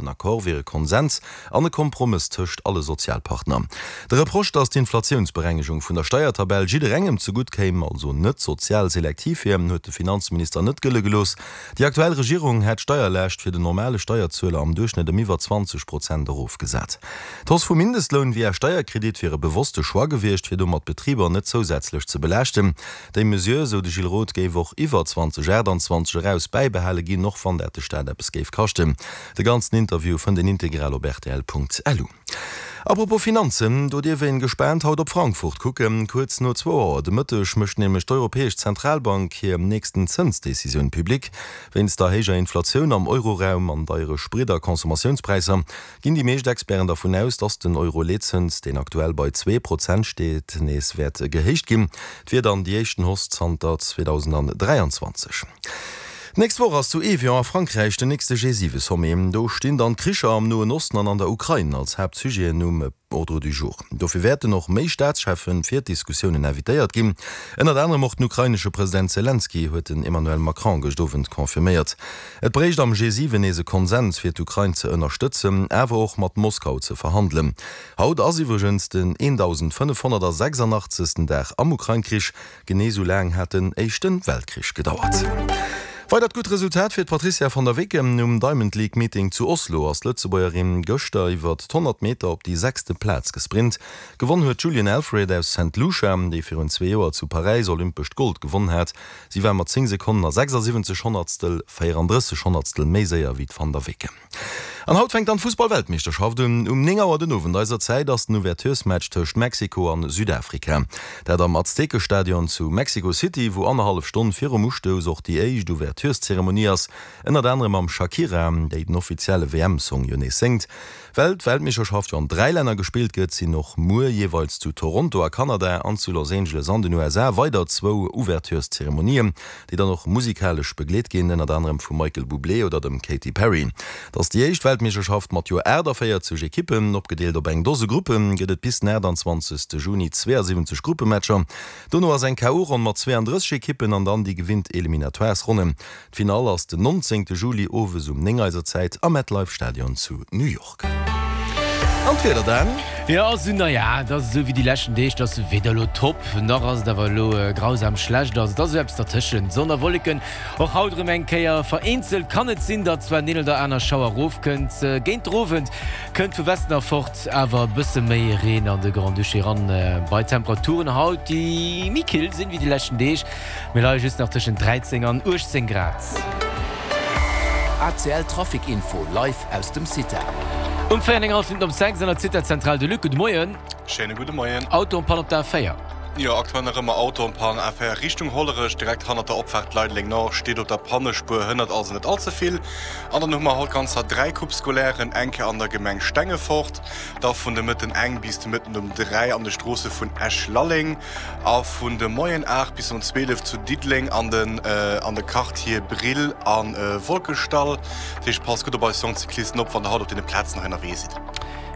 Den Accord wier e Konsens an e Kompromëss tëscht alle Sozialpartner. De Reproche, datt d'Inflatiounsberengegung vun der Steiertabell jidderengem zegutt kéim, also net sozial selektiv wier, huet de Finanzminister net gëlle gelooss. Déi aktuell Regierung hätt d'Steierlaascht fir den normale Steierzueler am Duerchschnëtt ëm iwwer 20 Prozent erofgesat. D'Hausse vum Mindestloun via Steierkredit wier e bewosste Choix gewiescht, fir domat d'Betriber net zousätzlech ze belaaschten. Déi Mesure, sou de Gilles Roth, géif och iwwer 2028 eraus bäibehale ginn, och wann dat de Staat eppes géif kaschten. De ganzen Interview fënnt een integral op rtl.lu. A propos Finanzen, do dierf een gespaant haut op Frankfurt kucken. Kuerz no zwou Auer de Mëtteg mécht nämlech d'Europäesch Zentralbank hir nächsten Zënsdecisioun public. Wéinst der héijer Inflatioun am Euroraum an deiere Sprit a Consommatiounspräisser Ginn déi meescht Experten dervun aus, dass den Euro-Leetzëns, deen aktuell bei 2% steet, nees wäert gehéicht ginn. Et wier dann déi éischten Hausse zanter 2023. D'nächst Woch ass zu Evian a Frankräich den nächste G7-Sommet. Do stinn dann d'Kricher am Noen Osten an an der Ukrain als Haaptsujeten um Ordre du jour. Dofir wäerten och méi Staatscheffen fir d'Diskussiounen invitéiert ginn. Ënnert anerem och den ukrainesche President Selenskyj, huet den Emmanuel Macron gëscht Owend confirméiert. Et bréicht am G7 nees e Konsens fir d'Ukrain ze ënnerstëtzen, awer och mat Moskau ze verhandelen. Haut ass iwwregens den 1.586. Dag am Ukrain-Krich, genee sou laang hat den Éischte Weltkrich gedauert. Weidert gutt Resultat fir d'Patrizia van der Weken um Diamond League Meeting zu Oslo ass d'Lëtzebuergerin gëschter iwwert d'100 Meter op déi sechste Plaz gesprint. Gewonn huet d'Julien Alfred aus Saint Lucia, déi virun zwee Joer zu Paräis olympescht Gold gewonn hat. Si war mat 10 Sekonnen a 76 Honnertstel 34 Honnertstel méi séier wéi d'Van der Weken. An haut fänkt dann d'Fussball-Weltmeeschterschaft un. Um 9 Auer den Owend eiser Zäit ass den Ouverturesmatch tëscht Mexiko an Südafrika. Dat am Aztekestadion zu Mexico City, wou annerhallef Stonn virum Ustouss och déi éischt Ouvertureszeremonie ass, ënnert anerem mam Shakira, déi den offizielle WM-Song jo nees séngt. Well d'Weltmeeschterschaft jo an 3 Länner gespillt gëtt, sinn och muer jeeweils zu Toronto a Kanada an zu Los Angeles an den USA weider zwou Ouvertureszeremonien, déi dann och musikalesch begleet ginn, ënnert anerem vum Michael Bublé oder dem Katy Perry. Et ass déi éischt Weltmeeschterschaft mat jo 48 Ekippen, opgedeelt op eng Dose Gruppen, gëtt et bis den 28 Juni 72 Gruppematcher. Dono ass eng KO-Ronn mat 32 Ekippen an dann déi gewinnt Eliminatoires-Ronnen. D'Finall ass den 19 Juli owes um 9 eiser Zäit am MetLife Stadion zu New York. An d'Wieder dann? Jo, also naja, et ass esou wéi déi leschten Deeg, et ass weder elo top, nach ass et awer elo grausam schlecht. Also et ass esou eppes dertëschent, Sonn a Wolleken, och haut erëm eng Kéier. Vereenzelt kann et sinn, datt zwar den een oder aner Schauer erofkënnt. Géint den Owend kënnt vu Westen erfort awer e bësse méi Reen an de Grand-Duché eran, bei Temperaturen haut, déi méi kill sinn wéi déi leschten Deeg. Mir leie just nach tëschent 13 an 18 Grad. ACL Trafic Info live aus dem CITA. Um 4 eng hallef Minutten op 6 an der CITA Zentral de Luc. Gudde Moien. Schéine gudde Moien. Auto en Panne op der A4. Jo, aktuell nach ëmmer Auto en Panne, A4 Richtung Hollerech, direkt hannert der Opfaart Leideleng Nord, steet op der Pannespuer, hënnert also net all ze vill. An dann hu mer haut ganzer 3 Coupes scolairen, eng Kéier an der Gemeng Stengefort, da vun de Mëtten eng bis de Mëtten um 3 an de Stroosse vun Esch-Lalleng, A vun de Moien 8 bis um 12 zu Diddeleng an den an de Quartiere Brill a Wolkeschdall. Dat heescht, passt gutt op eis jonk Cyclisten op, wann der haut op deene Plazen hei ënnerwee sidd.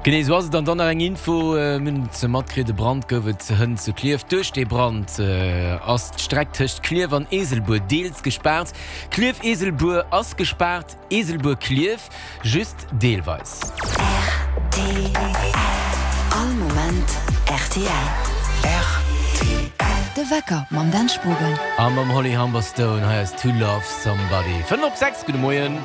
Genee esou ass et. An dann nach eng Info, mir hunn et matkritt, e Brand gouf et hënt zu Klierf. Duerch dee Brand ass d'Streck tëscht Klierf an Eeselbuer deels gespaart. Klierf-Eeselbuer ass gespaart. Eeselbuer-Klierf just deelweis. Rtl All Moment rtl. Rtl. De Wecker mam Dan Spogen. A mam Holly Humberstone, hei ass To Love Somebody. 5 op 6, gudde Moien.